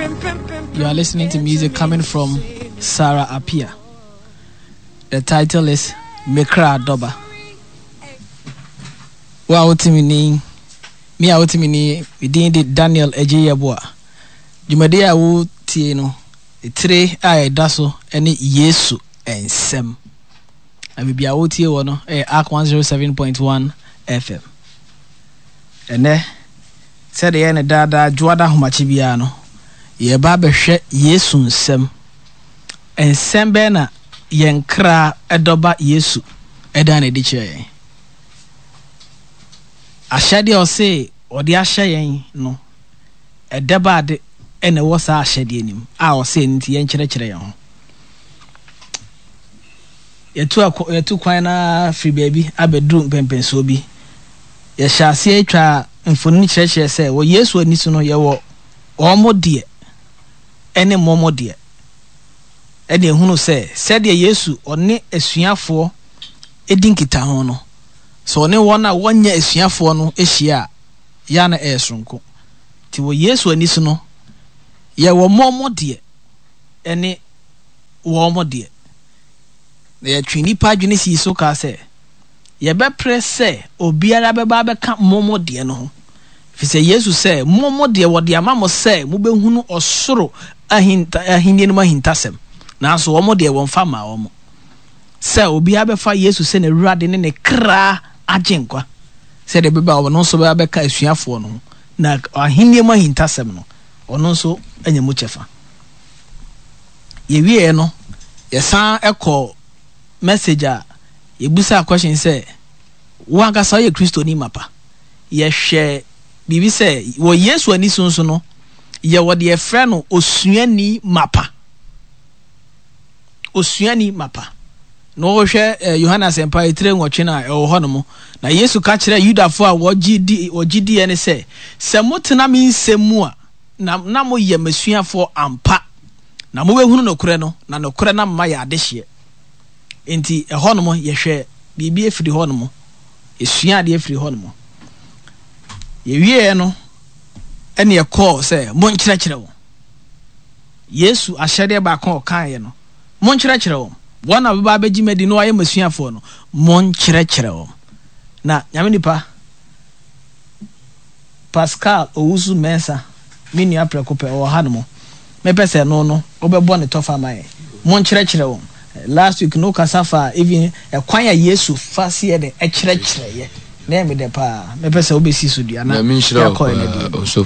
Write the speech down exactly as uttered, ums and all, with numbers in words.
You are listening to music coming from Sarah Appiah. The title is Mekra Doba. Wo a wote me ni, me a wote me ni, me din de Daniel Agyei-Yeboah. Dwumadi a wotie no, tire a ɛda so ne Yesu Nsɛm. Na baabi a wotie wɔ no yɛ Ark one zero seven point one F M. Ɛnɛ, sɛdeɛ yɛyɛ no daadaa dwoada ahomakye biara no, yɛreba abɛhwɛ Yesu nsɛm. Nsɛm bɛn na yɛn kra dɔba Yesu ɛda no adi kyerɛ yɛn? Ahyɛdeɛ a ɔse ɔde ahyɛ yɛn no, ɛdɛ ba ade ɛna ɛwɔ saa ahyɛdeɛ no mu a ɔse ɛno nti yɛnkyerɛkyerɛ yɛn ho. Yɛtu akɔ, yɛtu kwan na firi baabi abɛduru mpɛmpɛnsoɔ bi. Yɛhyɛ aseɛ twa mfonini kyerɛkyerɛ sɛ wɔ Yesu ani so no yɛwɔ wɔn deɛ ɛne mmɔmɔ deɛ. Ɛne ehunu sɛ sɛdeɛ Yesu ɔne asuafoɔ edi nkitaho no, sɛ ɔne wɔn a wɔnyɛ asuafoɔ no ahyia a, yɛa na ɛyɛ soronko. Nti wɔ Yesu ani so no, yɛwɔ mmɔmɔ deɛ ɛne wɔn deɛ. Na yɛtwe nnipa adwene sii so kaa sɛ, yɛbɛpere sɛ obiara bɛba abɛka mmɔmɔ deɛ no ho. Ɛfiri sɛ Yesu sɛ, mmɔmɔ deɛ wɔde ama mo sɛ mobɛhunu ɔsoro ahinta-, ahennie no mu ahintasɛm. Nanso wɔn deɛ wɔmfa mmaa wɔn. Sɛ obiara bɛfa Yesu sɛ n'Awurade ne ne kra agye nkwa, sɛdeɛ ɛbɛba a ɔno nso bɛba abɛka asuafoɔ no ho, na ahennie mu ahintasɛm no, ɔno nso anya mu kyɛfa. Yɛwieɛ no, yɛsan kɔ message a yɛbusa question sɛ, wo ankasa woyɛ Kristoni mapa? Yɛhwɛ biribi sɛ, wɔ Yesu ani so nso no, yɛwɔ deɛ yɛfrɛ no osuani mapa. Osuani mapa. Na wɔhwɛ, eh, Yohane Asɛmpa etire nwɔtwe no a ɛwɔ hɔ nom. Na Yesu ka kyerɛɛ Yudafoɔ a wɔgye di, wɔgye diiɛ ne sɛ, sɛ motena me nsɛm mu a, na, na moyɛ m'asuafoɔ ampa. Na mobɛhunu nokorɛ no, na nokorɛ no ama yɛ adehyeɛ. Enti ɛhɔ nom yɛhwɛ biribi afiri hɔ nom, yɛsua adeɛ afiri hɔ nom. Yɛwieɛ no, ɛne ɛkɔɔ sɛ monkyerɛkyerɛ wɔn. Yesu ahyɛdeɛ baako a ɔkaeɛ no, monkyerɛkyerɛ wɔn. Wɔn a wɔbɛba abɛgye m'adi na wɔayɛ m'asuafoɔ no, monkyerɛkyerɛ wɔn. Na Nyame nipa Pascal Owusu Mensah, me nua prɛko pɛ, ɔwɔ ha nom. Mepɛ sɛ ɛno no, wobɛbɔ ne tɔfa ma yɛn. Monkyerɛkyerɛ wɔn. Last week no kasa fa even ɛkwan a Yesu fa seɛ de ɛkyerɛkyerɛ yɛ. Na ɛyɛ me dɛ paa. Mepɛ sɛ wobɛsi so dua na Nyame nhyira wo yɛakɔ yɛn paa, anim. Ɔsɔfo.